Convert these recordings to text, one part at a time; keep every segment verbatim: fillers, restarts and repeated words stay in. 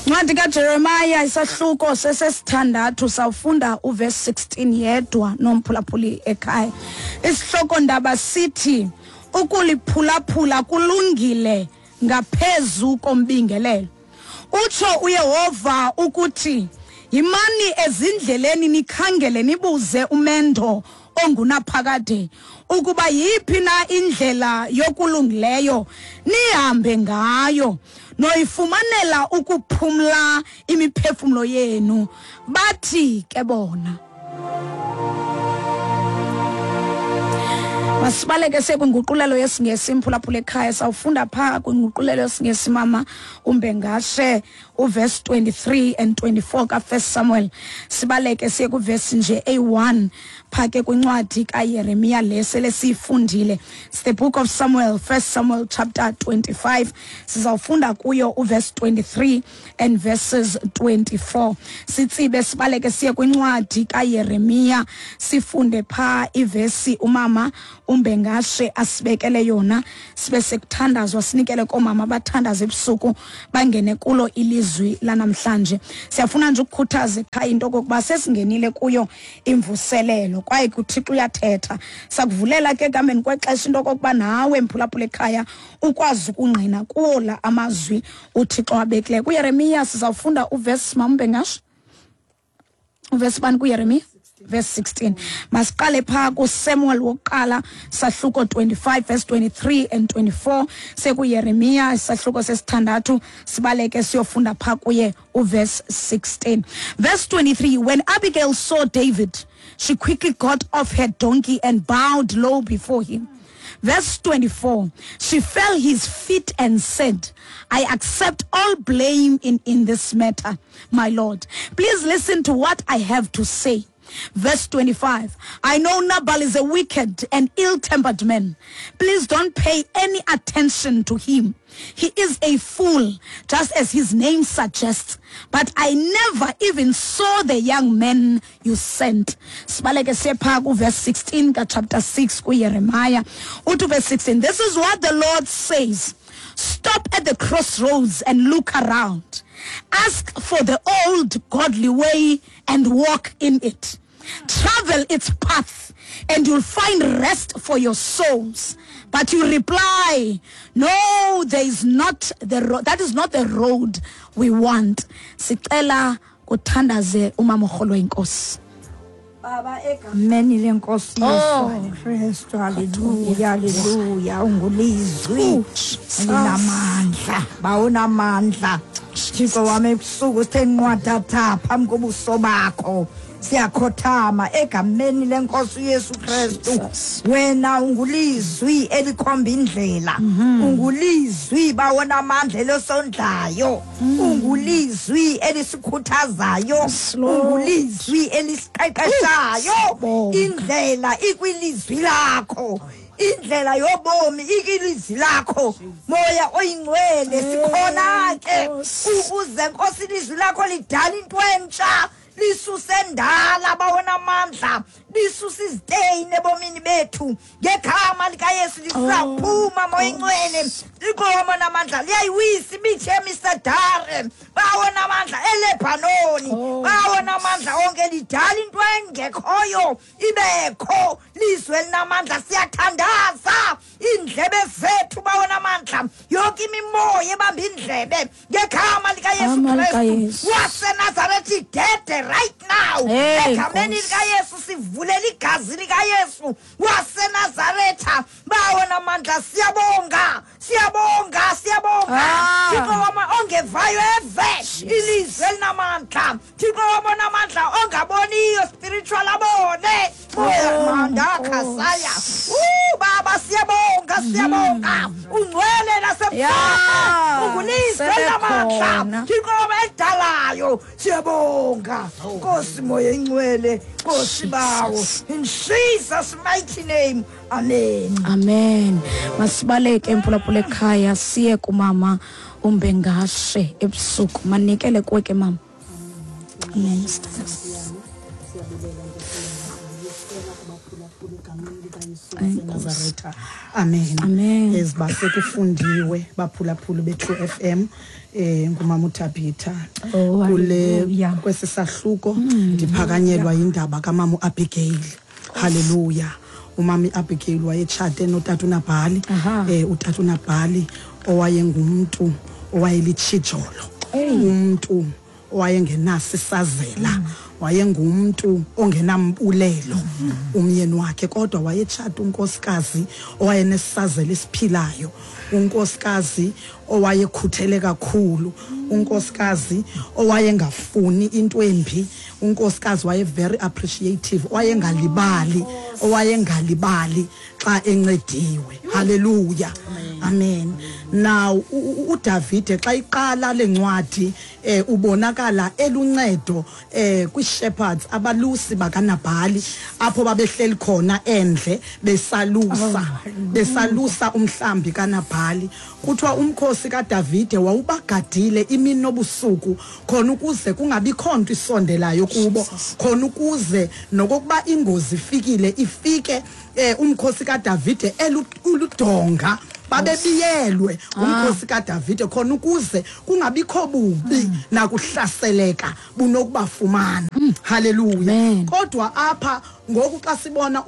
Incwadi kaJeremiah isahluko sesesithandathu sawufunda uverse sixteen yedwa nomphulaphuli ekhaya. Isihloko ndaba sithi ukuliphulaphula kulungile ngaphezu kombingelelo. Utsho uYehova ukuthi yimani ezindleleni nikhangele nibuze umendo ongunaphakade ukuba yiphi na indlela yokulungileyo nihambe ngayo noyifumanela ukuphumla imiphefumulo yenu. Bathi ke bona masibaleke sekwinguqulelo yesiNgesi imphulaphula ekhaya. Sawufunda phaa kwinguqulelo yesiNgesi mama umbengashe uverse twenty-three and twenty-four kaFirst Samuel. Sibaleke siye kuverse nje A one phaa ke kwincwadi kaYeremiya le sele siyifundile. It's the book of Samuel, First Samuel chapter twenty-five. Sizawufunda kuyo uverse twenty-three and verses twenty-four. Sitsibe sibaleke siye kwincwadi kaYeremiya sifunde phaa ivesi umama umbengashe asibekele yona, sibe sekuthandazwa sinikele koomama abathandaza ebusuku bangene kulo ilizwi lanamhlanje. Siyafuna nje ukukhuthaza ekhaya into okokuba sesingenile kuyo imvuselelo kwaye kuThixo uyathetha. Sakuvulela ke ekuhambeni kwexesha into okokuba nawe mphulaphula ekhaya ukwazi ukungqina kuwo la amazwi uThixo abekileyo. KuYeremiya sizawufunda uverse mama umbengashe, uverse bani kuYeremiya? Verse sixteen. Masiqale phaa kuSamuel wokuqala sahluko twenty-five verse twenty-three and twenty-four. SekuYeremiya isahluko sesithandathu sibaleke siyofunda phaa kuye uverse sixteen. Verse twenty-three, when Abigail saw David, she quickly got off her donkey and bowed low before him. Verse twenty-four, she fell his feet and said, I accept all blame in, in this matter, my Lord. Please listen to what I have to say. Verse twenty-five, I know Nabal is a wicked and ill-tempered man. Please don't pay any attention to him. He is a fool, just as his name suggests. But I never even saw the young man you sent. Sibaleke siye phaa kuverse sixteen chapter six kuYeremiah. Uthi verse sixteen, this is what the Lord says. Stop at the crossroads and look around. Ask for the old godly way and walk in it. Travel its path and you'll find rest for your souls. But you reply, no, there is not the road. That is not the road we want. Sicela kuthandaze umama orholo inkosi. Baba egameni lenkosi Yesu Kristu, haleluya, haleluya. Ungulizwi linamandla, bawunamandla. Thixo wami ebusuku sithe nqwadatha phambi kobuso bakho. Siyakhothama egameni lenkosi Yesu Kristu. Wena ungulizwi elikhomba indlela, ungulizwi bawona amandla elosondlayo, ungulizwi elisikhuthazayo, ungulizwi elisiqeqeshayo. Indlela ikwilizwi lakho, indlela yobomi ikilizwi lakho. Moya oyingcwele sikhona ke ukuze Nkosi ilizwi lakho lidala into entsha, lisuse ndala bawona amandla, lisuse iziteyini ebomini bethu ngegama likaYesu. Lisaphuma moya ingcwele likhoma namandla, liyayiwisa imithi emisedare bawona amandla eLebanoni, bawona amandla onke, lidala into engekhoyo ibekho. Lizwe linamandla, siyathandaza indlebe zethu bawona amandla, yonke imimoya ebamba indlebe ngegama likaYesu Kristu waseNazaretha idede right now. Egameni likaYesu sivulela igazi likaYesu waseNazaretha bawona amandla. Siyabonga, siyabonga, siyabonga. Thixo wama ongevayo eve ilizwe elinamandla, Thixo wabona amandla ongaboniyo spiritual abone. Manda khasaya. Uh baba siyabonga, siyabonga. Ungcwele nasemhlabeni, ungulizwe elinamandla, Thixo wama edalayo. Siyabonga Nkosi moya ingcwele, Nkosi bawo, in Jesus mighty name. Amen. Amen. Masibaleke emphulaphula ekhaya siye kumama umbengashe ebusuku. Manikele kuwe ke mama. Amen. waseNazaretha. Amen. Amen. Ezibase kufundiwe baphulaphula be-True F M eh ngumama uThabitha. Oh, kule hallelujah. Kwesi sahluko ndiphakanyelwa indaba kamama uAbigail. Hallelujah. Umama uAbigail wayetshate notata uNabhali. Aha. Eh utata uNabhali owayengumntu owayelitshijolo. Umuntu owayengenasi isazela, wayengumntu ongenambulelo umyeni wakhe, kodwa wayetshata unkosikazi owayenesazela esiphilayo, unkosikazi owayekhuthele kakhulu, unkosikazi owayengafuni into embi, unkosikazi waye very appreciative, owayengalibali, owayengalibali xa encediwe. Hallelujah. Amen. Now uDavide xa iqala lencwadi eh ubonakala eluncedo eh kwi-shepherds, abalusi bakaNabhali, apho babehleli khona endle besalusa, besalusa umhlambi kaNabhali. Kuthiwa umkhosi kaDavide wawubagadile imini nobusuku, khona ukuze kungabikho nto isondelayo kubo, khona ukuze nokokuba ingozi ifikile ifike eh umkhosi kaDavide eludonga, babebiyelwe umkhosi kaDavide khona ukuze kungabikho bubi nakuhlaseleka bunokubafumana. Hallelujah. Kodwa apha ngoku xa sibona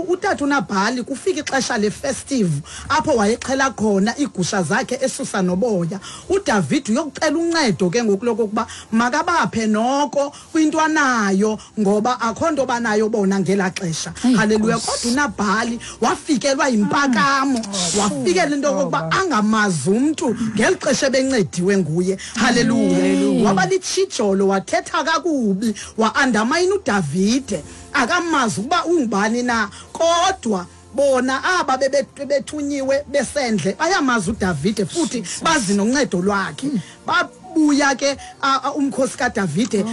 utata uNabhali kufika ixesha le-festive apho wayexhela khona iigusha zakhe esusa noboya. uDavid uyokucela uncedo ke ngoku lokokuba makabaphe noko kwinto anayo, ngoba akho nto banayo bona ngelaa xesha. Hallelujah. Kodwa uNabhali wafikelwa yimpakamo, wafikela into yokokuba angamazi umntu ngeli xesha ebencediwe nguye. Hallelujah. Waba litshijolo, wathetha kakubi, wa-undermine uDavide, akamazi ukuba ungubani na. Kodwa bona aba bebethunyiwe besendle bayamazi uDavide futhi bazi noncedo lwakhe. Babuya ke umkhosi kaDavide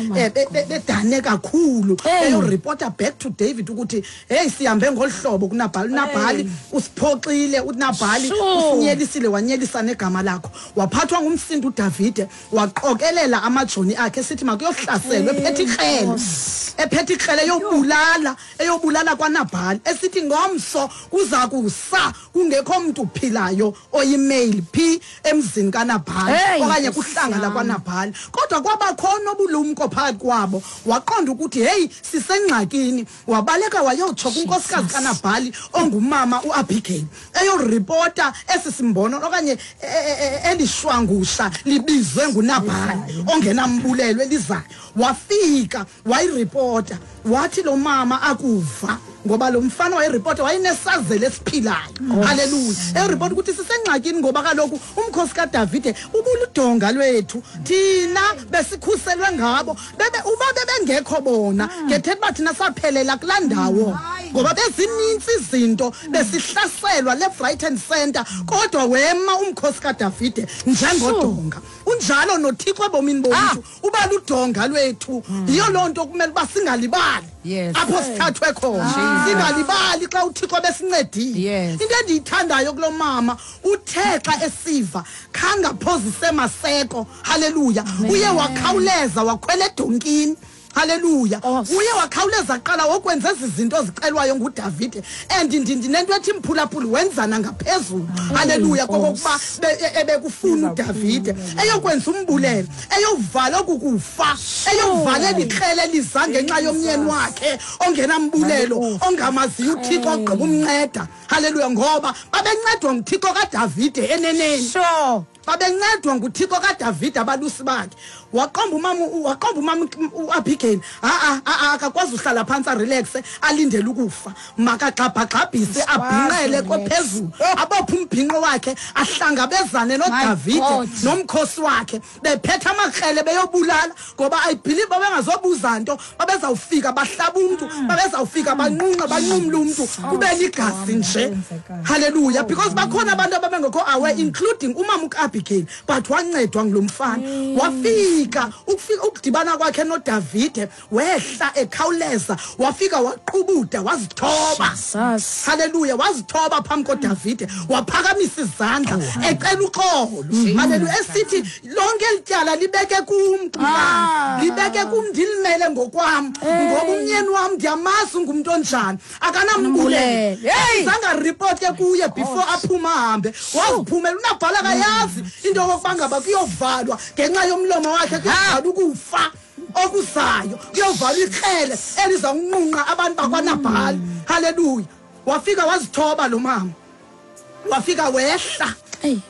bedane kakhulu, eyoreporta back to David ukuthi hey, sihambe ngolhlobo kuNabhali, uNabhali usiphoxile, uNabhali usinyelisile, wanyelisa negama lakho. Waphathwa ngumsindo uDavide, waqokelela amajoni akhe esithi makuyohlaselwe, ephethe ikrele, ephethe ikrele eyobulala, eyobulala kwaNabhali, esithi ngomso kuza kusa kungekho mntu uphilayo oyimale phi emzini kaNabhali okanye kuhlanga lakwaNabhali. Kodwa kwabakhona obulumko phakathi kwabo, waqonda ukuthi hey, sisengxakini. Wabaleka wayotsho kunkosikazi kaNabhali ongumama uAbigail, eyoripota esi simbono okanye elishwangusha libizwe nguNabhali ongenambulelo elizayo. Wafika wayiripota, wathi lo mama akuva, ngoba lo mfana wayiripota wayenesazela esiphilayo. Hallelujah. Eripota ukuthi sisengxakini ngoba kaloku umkhosi kaDavide ubuludonga lwethu, thina besikhuselwe ngabo, bebe uba bebengekho bona ngethetha uba thina saphelela kulaa ndawo, ngoba bezininzi izinto besihlaselwa left, right and center. Kodwa wema umkhosi kaDavide njengodonga. Unjalo noThixo ebomini bomntu, uba ludonga lwethu. Yiyo loo nto kumele uba singalibali apho sithathwe khona, singalibali xa uThixo besincedile. Into endiyithandayo kulo mama, uthe xa esiva khangaphozise maseko. Hallelujah. Uye wakhawuleza wakhwela edonkini. Hallelujah. Uye wakhawuleza qala wokwenza ezi zinto zicelwayo nguDavide, and ndinento ethi mphulaphuli wenzana ngaphezulu. Hallelujah. Kokokuba ebekufuna uDavide eyokwenza umbulelo, eyovala okukufa, eyovalela ikrele eliza ngenxa yomyeni wakhe ongenambulelo, ongamaziyo uThixo ogqiba umnceda. Hallelujah. Ngoba babencedwa nguThixo kaDavide eneneni. Sure. Babencedwa nguThixo kaDavide abalusi bakhe. Waqomba umama, waqomba umama uAbigail, a a akakwazi uhlala phansi arelaxe alindele ukufa, makagxabhagxabhise abhinqele kophezulu, abophe umbhinqo wakhe, ahlangabezane noDavide nomkhosi wakhe, bephethe amakrele beyobulala, ngoba I believe babengazobuza nto, babezawufika bahlaba umntu, babezawufika banqunqe banqumle umntu, kube ligazi nje. Hallelujah. Because bakhona abantu ababengekho aware, including umama uAbigail. uAbigail, but wancedwa ngulomfana. Wafika ukufika ukudibana kwakhe noDavide, wehla ekhawuleza, wafika waqubuda, wazithoba. Hallelujah, wazithoba phambi koDavide, waphakamisa izandla ecela uxolo. Hallelujah, esithi lonke elityala libeke kum, libeke kum, ndilimele ngokwam, ngoba umnyeni wam ndiyamazi ungumntu onjani, akanambulelo. Zange report ke kuye before aphuma ahambe, waziphumela. UNabhala akayazi into yokokuba ngaba kuyovalwa ngenxa yomlomo wakhe, kuyovalwa ukufa okuzayo, kuyovalwa ikrele elizawunqunqa abantu bakwaNabhali. Hallelujah. Wafika wazithoba lo mama, wafika wehla,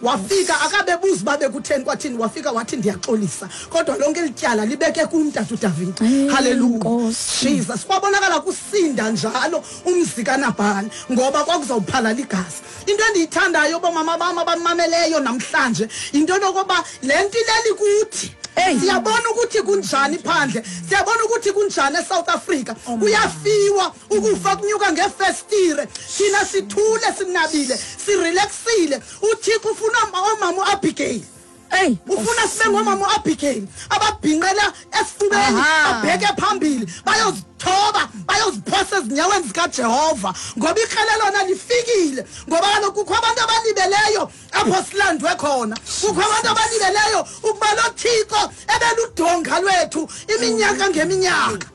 wafika akabebuza uba bekutheni kwathini, wafika wathi ndiyaxolisa, kodwa lonke elityala libeke kum tata uDavide. Hallelujah, Jesus. Kwabonakala kusinda njalo umzi kaNabhali, ngoba kwakuzawuphalala igazi. Into endiyithandayo bomama bam abamameleyo namhlanje, into yokokuba le nto ileli kuthi. Siyabona ukuthi kunjani phandle, siyabona ukuthi kunjani eSouth Africa. Kuyafiwa, ukufa kunyuka ngefestire, thina sithule, sinabile, sirelaxile. UThixo ufuna omama uAbigail. Hey, ufuna sibe ngomama uAbigail ababhinqela esifubeni, babheke phambili, bayozithoba, bayoziphosa ezinyaweni zikaJehova, ngoba ikrele lona lifikile. Ngoba kaloku kukho abantu abalibeleyo apho silandwe khona, kukho abantu abalibeleyo ukuba lo Thixo ebeludonga lwethu iminyaka ngeminyaka.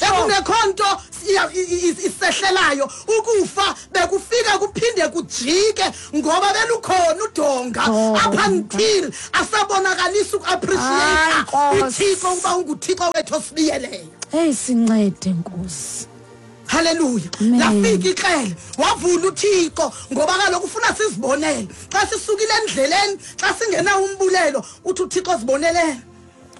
Ekungekho nto isehlelayo, ukufa bekufika kuphinde kujike, ngoba belukhona udonga up until asabonakalisa uku-appreciate uThixo ukuba unguThixo wethu osibiyeleyo. Hey, sincede Nkosi. Hallelujah. Lafika ikrele, wavula uThixo, ngoba kaloku ufuna sizibonele. Xa sisukile endleleni, xa singena umbulelo, uthi uThixo zibonelele.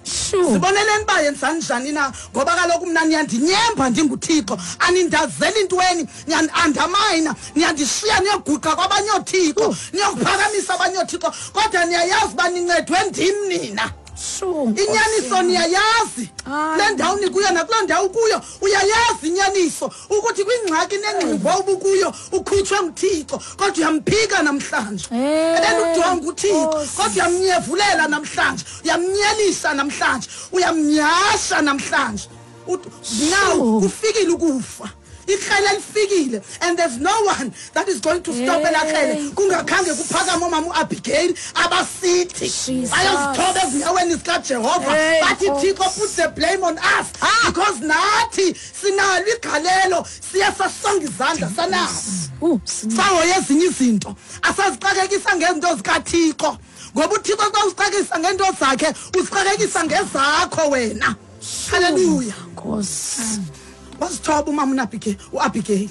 Siboneleni uba yenzani njani na, ngoba kaloku mna niyandinyemba ndinguThixo, anindazeli intweni, niyandiandamayina, niyandishiya niyoguqa kwabanye oothixo, niyokuphakamisa abanye oothixo, kodwa niyayazi uba nincedwe ndim nina. Inyaniso niyayazi, le ndawo nikuyo nakuloo ndawo kuyo uyayazi inyaniso, ukuthi kwingxaki nengximbo ubukuyo ukhutshwe nguThixo, kodwa uyamphika namhlanje. Ebeludonga uThixo, kodwa uyamnyevulela namhlanje, uyamnyelisa namhlanje, uyamnyasha namhlanje. Now kufikile ukufa, ikrele lifikile, and there's no one that is going to stop elakrele kungakhange kuphakame omama uAbigail abasithi bayozithoba ezinyaweni zikaJehova, bathi Thixo put the blame on us, because nathi sinalo igalelo, siye sasonga izandla sanabo, sahoye ezinye izinto, asazixakekisa ngezinto zikaThixo, ngoba uThixo xa usixakekisa ngeento zakhe usixakekisa ngezakho wena. Hallelujah. Nkosi. Wazithoba umama uNabigail, uAbigail.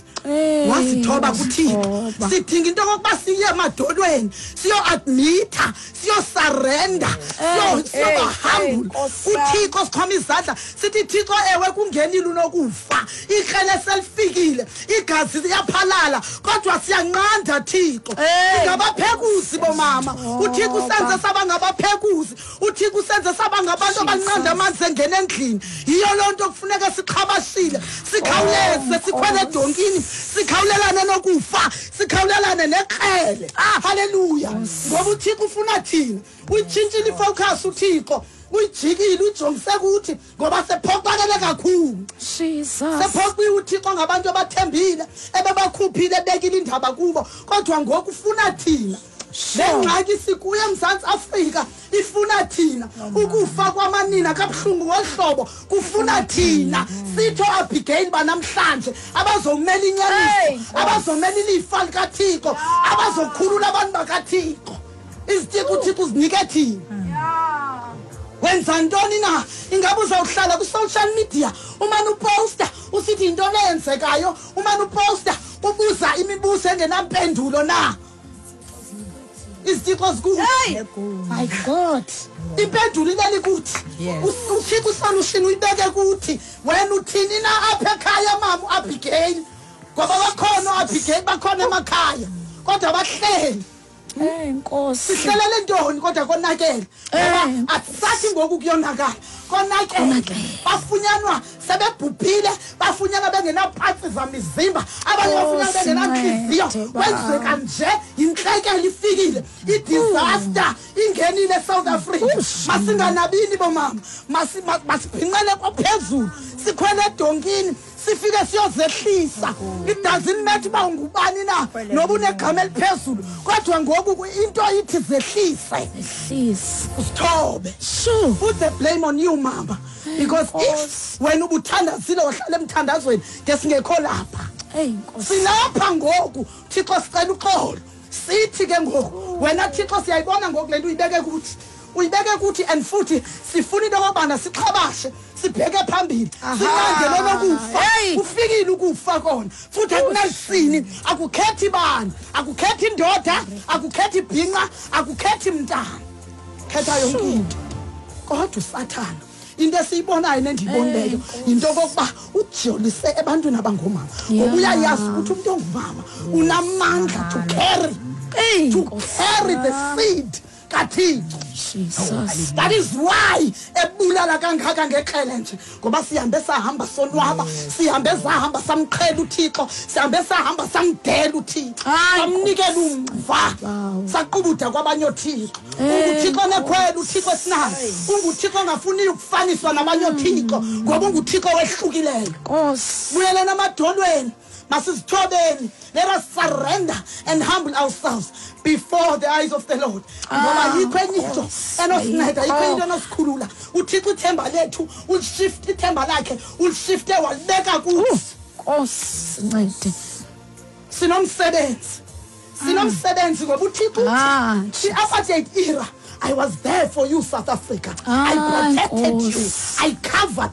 Wazithoba kuThixo. Sidinga into yokokuba siye emadolweni, siyo-admitha, siyo-surrender, siyoba humble kuThixo, sikhoma izandla sithi Thixo, ewe kungenile unokufa, ikrele selifikile, igazi liyaphalala, kodwa siyanqanda Thixo. Singabaphekuzi bomama, uThixo usenze saba ngabaphekuzi, uThixo usenze saba ngabantu abanqanda amanzi engena endlini. Yiyo loo nto kufuneka sixhabashile, sikhawuleze, sikhwele edonkini, sikhawulelane nokufa, sikhawulelane nekrele. Hallelujah. Ngoba uThixo ufuna thina. Uyitshintshile ifocus uThixo, uyijikile, uyijongise kuthi, ngoba sephoxakele kakhulu. Sephoxiwe uThixo ngabantu abathembile, ebebakhuphile, ebekile indaba kubo, kodwa ngoku ufuna thina. Le ngxaki sikuyo eMzantsi Afrika ifuna thina. Ukufa kwamanina kabuhlungu ngohlobo kufuna thina. Sitho Abigail banamhlanje abazomela inyaniso, abazomela ilifa likaThixo, abazokhulula abantu bakaThixo. Izithixo uThixo uzinike thina. Wenza ntoni na? Ingabe uzawuhlala kwi-social media umane uposta usithi yintoni eyenzekayo, umane uposta ubuza imibuzo engenampendulo na? Izithixo zikuthi. My God. Impendulo ileli kuthi. uThixo usolution uyibeke kuthi. Wena uthini na apha ekhaya mama uAbigail? Ngoba bakhona uAbigail, bakhona emakhaya, kodwa bahleli. Eh Nkosi. Sihlelele ntoni kodwa konakele? Ngoba akusathi ngoku kuyonakala. Konakele. Bafunyanwa sebebhubhile, bafunyanwa bengenapatsi zamizimba, abanye bafunyanwa bengenantliziyo. Kwenzeka nje intlekele ifikile, i-disaster ingenile eSouth Africa. Masinganabini bomama, masibhinqele kwaphezulu, sikhwele edonkini, sifike siyozehlisa. It doesn't matter uba ungubani na noba unegama eliphezulu, kodwa ngoku into ithi zehlise. Zehlise. Usithobe. Put the blame on you, mama. Because if wena ubuthandazile wahlala emthandazweni ngesingekho lapha. Silapha ngoku, Thixo sicela uxolo. Sithi ke ngoku, wena Thixo siyayibona ngoku le nto uyibeke kuthi. Uyibeke kuthi and futhi sifuna into yokubana sixhabashe, sibheke phambili. Sinqande lokufa. Ufikile ukufa kona. Futhi akunasini, akukhethi bani, akukhethi indoda, akukhethi ibhinqa, akukhethi mntana. Khetha yonke into. Kodwa uSathana into esiyibonayo nendiyibonileyo yinto okokuba ujolise ebantwini abangomama, ngoba uyayazi ukuthi umuntu ongumama unamandla to carry, to carry the seed kaThixo. Jesus. That is why ebulala kangaka ngekrele nje, ngoba sihambe sahamba sonwaba, sihambe sahamba samqhela uThixo, sihambe sahamba samdela uThixo, samnikela umva, saqubuda kwabanye oThixo. UnguThixo nekhwelo, uThixo esinayo, unguThixo ongafuni ukufaniswa nabanye oThixo, ngoba unguThixo wehlukileyo. Nkosi. Buyeleni emadolweni, masizithobeni. Let us surrender and humble ourselves before the eyes of the Lord. Ngoba yikho enye into enosinceda, yikho into enosikhulula. uThixo ithemba lethu ulishift, ithemba lakhe ulishifte walibeka kuthi. Nkosi sincede. Sinomsebenzi, sinomsebenzi ngoba uThixo uthi i-apartheid era, I was there for you, South Africa. I protected you, I covered